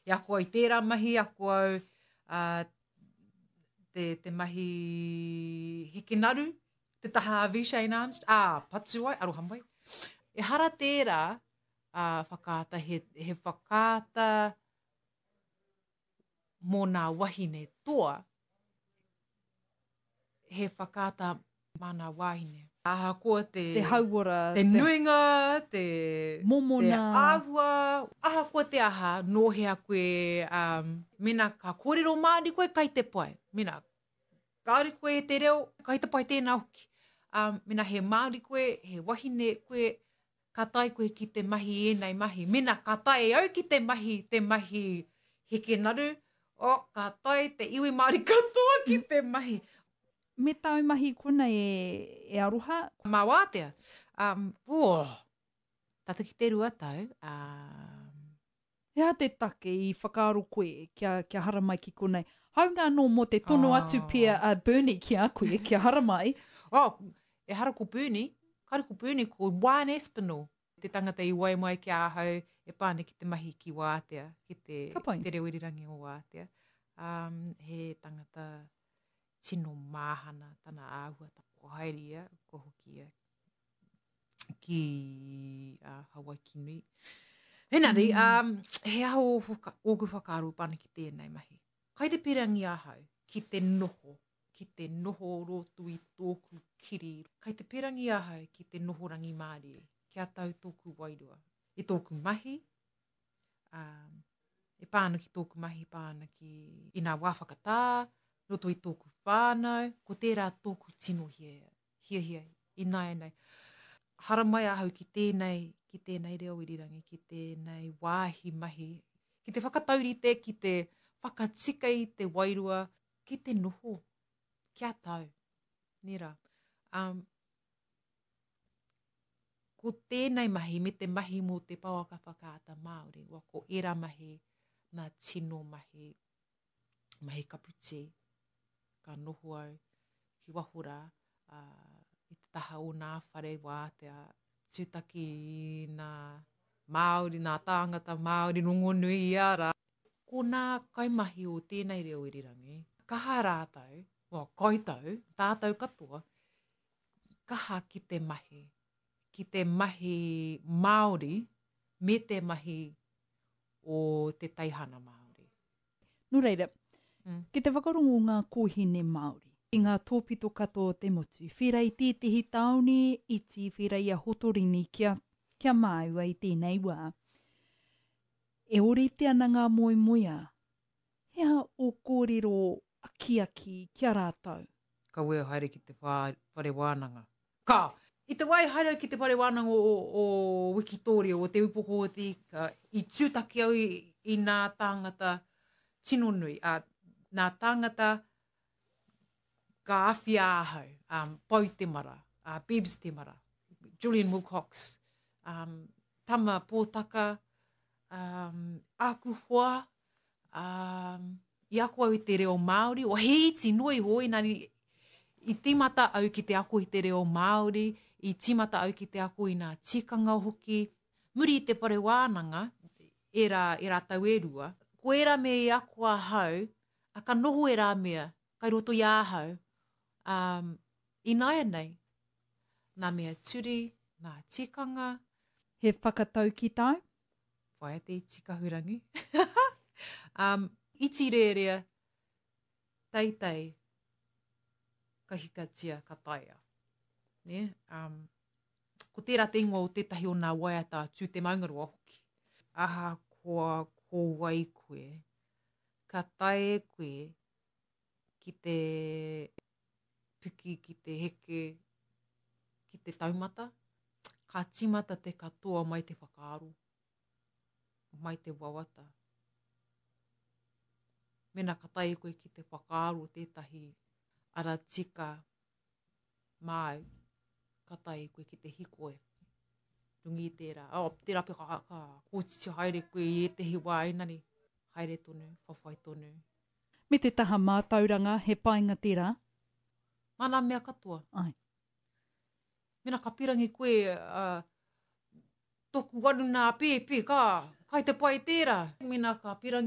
I ako au i tērā mahi, ako au uh, te, te mahi hekenaru, te taha a V. Shane Armstrong, ā, patu ai, aroha mai. Ehara tērā uh, whakaata, he, he whakaata mō nā wahine toa, he whakaata mā nā wāhine. Ahakoa te, te hauora, te nuinga, te, momona. te āhua, ahakoa te aha, nō hea koe, um, mena ka kōrero Māori koe, kai te pai. Mena kāore koe e te reo, kai te pai tēnā hoki. Um, mena he Māori koe, he wahine koe, ka tae koe ki te mahi ēnei mahi. Mena ka tae au ki te mahi, te mahi heke naru, oh, ka tae te iwi Māori katoa ki te mahi. Me tāu mahi konei e, e Aroha? Mā wātea. Um, oh, tata ki te 2 tau. Um, He aha te take i whakaaro koe kia, kia haramai ki konei? Hāunga anō mō te tono atu pea a Bernie ki a koe kia haramai. Oh, ehara ko Bernie, kāre ko Bernie, ko Juan Aspinall, te tangata i wae mai ki ahau e pā ana ki te mahi ki Wātea, ki te, ki te reo irirangi o Wātea. Um, he tangata tino māhana tana āhua, kua haere ia, kua hoki ia ki uh, Hawaiki nui. Engari, mm. um, he aha o whaka, ōku whakaaro pā ana ki tēnei mahi. Kai te pirangi ahau ki te noho, ki te noho roto i tōku kiri. Kai te pirangi ahau ki te noho rangimārie, kia tau tōku wairua. I tōku mahi, um, e pā ana ki tōku mahi, pā ana ki i nā wā whakatā, roto i tōku whānau, ko tērā tōku tino hiahia, hiahia ināianei. Haramai ahau ki tēnei, ki tēnei reo irirangi, ki tēnei wāhi mahi, ki te whakataurite, ki te whakatika i te wairua, ki te noho, kia tau. Nē rā. Um, ko tēnei mahi me te mahi mō te pouaka whakaata Māori, wa ko ērā mahi, nā tino mahi, mahi kaputi, ka noho au ki waho rā, ā, i te taha o nā whare wātea, tūtaki i nā Māori, nā tāngata Māori rongonui i a rā. Ko nā kaimahi o tēnei reo irirangi, kaha rātou, well, koutou, tātou katoa, kaha ki te mahi, ki te mahi Māori me te mahi o te teihana Māori. Nō reira, mm. ki te whakarongo ngā kōhine Māori i ngā tōpito katoa o te motu, whera i tētehi tāone iti, whera i a Hotorini kia, kia māua i tēnei wā. E ōrite ana ngā moemoeā. He aha ō kōrero akiaki ki a rātou? Kaua e haere ki te whare wānanga. Ka! I te wā i haere au ki te whare wānanga o, o Wikitōria, o Te Upoko o te Ika, i tūtaki au i, i nā tāngata tino nui, ā, nā tāngata ka awhia ahau, um, Pau Temara, uh, Bebs Temara, Julian Wilcox, um, Tama Pōtaka, um, āku hoa, um, i ako au i te reo Māori, o he iti noa iho, engari i tīmata au ki te ako i te reo Māori, i tīmata au ki te ako i nā tikanga hoki. Muri i te whare wānanga, ērā, ērā tau e rua, ko ērā mea i ako ahau, a ka noho ērā mea kai roto i ahau, um, ināianei, nā mea turi, nā tikanga. He whakataukī tāu? Whaia te iti kahurangi. um, iti rērea, teitei, ka hikatia, ka taea. Ne? Um, ko tērā te ingoa o tētahi o nā waiata a Tū Te Maungaroa hoki. Ahakoa ko wai koe, ka tae koe ki te piki, ki te heke, ki te taumata, ka tīmata te katoa mai te whakaaro, mai te wawata. Mena ka tae koe ki te whakaaro tētahi ara tika māu, ka tae koe ki te hikoi. Runga i tērā, oh, tērā pea ka, ka kōtiti haere koe i ētehi wā, engari, haere tonu, whawhai tonu. Me te taha mātauranga, he painga tērā? Mā nā mea katoa. Ai. Mena ka pirangi koe, uh, toku waru nā pēpi, ka, kai te pai tērā. Mena ka pirangi.